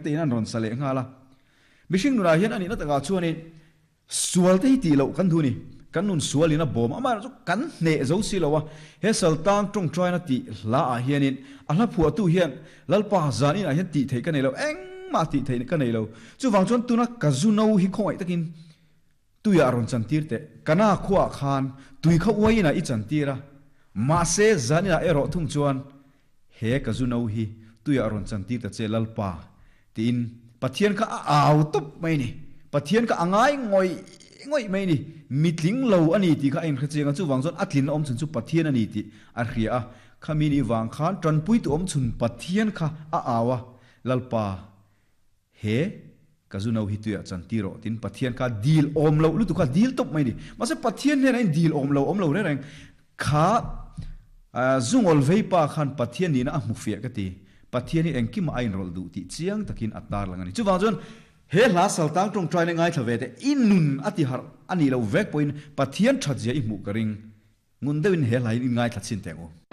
Te in an rawn sa leh nghal a. Mihring nunah hian a nihna takah chuanin sual te hi tih loh kan duh a ni. Kan nun sual in a bawm a, amaherawhchu kan hneh zo si lo a. He Saltang tawngtaina tih hla ah hianin a hla phuahtu hian Lalpa zan inah hian tih theih ka nei lo, engmah tih theih ka nei lo. Chuvang chuan tuna ka zu no hi khawngaih takin tuiah rawn chantir teh. Kana khuaah khan tui kha uai inah i chantir a, mahse zan inah erawh thung chuan He ka zu no hi tuiah rawn chantir ta che Lalpa, tiin Pathian kha a au tawp mai a ni. Pathian kha a ngai ngawih ngawih mai a ni. Mitling lo a ni tih kha a inhre chiang a, chuvang chuan a tlinna awm chhun chu Pathian a ni tih a hria a. Khami ni vang khan tanpuitu awm chhun Pathian kha a au a, Lalpa, he ka zu no hi tuiah chantir rawh, tiin Pathian kha dil awm loh lutuk kha dil tawp mai a ni. Mahse Pathian hnenah in dil awm lo awm lo reng reng kha zungawl vei pa khan Pathian nihna a hmu fiah ka ti. Pathian hi engkimah a inrawlh duh tih chiang takin a tarlang a ni. Chuvang chuan he hla saltang tawngtaina ngaithla ve teh i nun a ti harh a nih loh vek pawhin Pathian thatzia i hmuh ka ring. Ngun deuhin he hla hi in ngaithla chhin teh ang u.